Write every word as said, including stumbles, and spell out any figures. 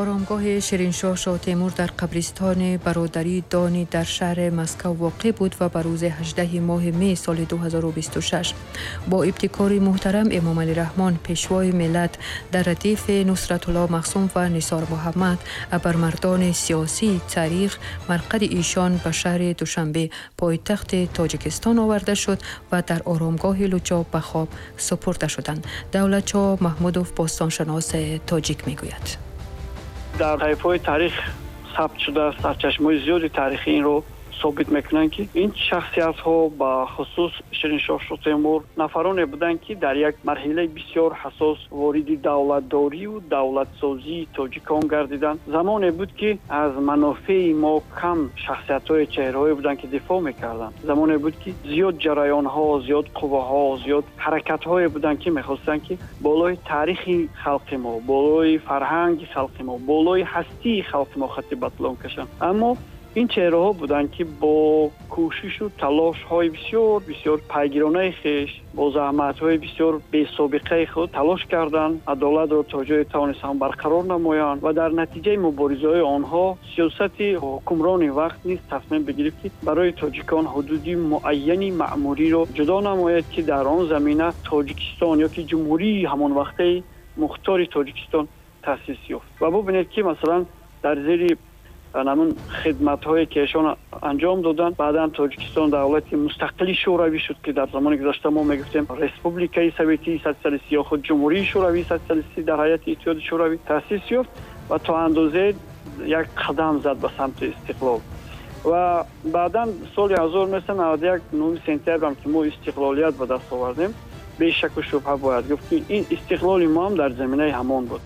Оромгоҳи Шириншоҳ Шоҳтемур дар қабристони бародарии Дони дар шаҳри Москва воқеъ буд ва ба рӯзи ҳаждаҳуми моҳи май соли ду ҳазору бисту шаш бо ибтикори муҳтарам Эмомалӣ Раҳмон, Пешвои миллат, дар радифи Нусратулло Маҳсум ва Нисор Муҳаммад, абармардони сиёсии таърих, марқади эшон ба шаҳри Душанбе, пойтахти Тоҷикистон, оварда шуд ва дар оромгоҳи Лучоб ба хок супурда шуданд. Давлатшоҳ Маҳмудов, бостоншиноси тоҷик, мегӯяд: Дар саҳифаҳои таърих сабт шудааст, сарчашмаҳои зиёди таърихӣ инро собит мекунанд, ки ин шахсиятҳо, ба хусус Шириншоҳ Шоҳтемур, нафароне буданд, ки дар як марҳилаи бисёр ҳассос вориди давлатдорию давлатсозии тоҷикон гардиданд. Замоне буд, ки аз манофеи мо кам шахсиятҳои, чеҳраҳое буданд, ки дифоъ мекарданд. Замоне буд, ки зиёд ҷараёнҳо, зиёд қувваҳо, зиёд ҳаракатҳое буданд, ки мехостанд, ки болои таърихи халқи мо, болои фарҳанги халқи мо, болои ҳастии халқи мо хатти батлон кашанд. Аммо ин чеҳраҳо буданд, ки бо кӯшишу талошҳои бисёр бисёр пайгиронаи хеш, бо заҳматҳои бисёр бесобиқаи худ талош карданд, адолатро то ҷое тавонистанд барқарор намоянд ва дар натиҷаи муборизаҳои онҳо сиёсати ҳукмрони вақт низ тасмим бигирифт, ки барои тоҷикон ҳудуди муайяни маъмуриро ҷудо намояд, ки дар он замина Тоҷикистон ё ки ҷумҳурии ҳамонвақтаи мухтори Тоҷикистон таъсис ёфт. Ва бубинед, ки масалан дар зери ҳамун хидматҳое, ки эшон анҷом доданд, баъдан Тоҷикистон давлати мустақили шӯравӣ шуд, ки дар замони гузашта мо мегуфтем Республикаи Советии Социалистӣ ё худ Ҷумҳурии Шӯравии Социалистӣ дар ҳайати Иттиҳоди Шӯравӣ таъсис ёфт ва то андозае як қадам зад ба самти истиқлол. Ва баъдан соли ҳазору нӯҳсаду наваду як, нӯҳуми сентябрам, ки мо истиқлолият ба даст овардем, бешаку шубҳа бояд гуфт, ки ин истиқлоли мо ҳам дар заминаи ҳамон буд.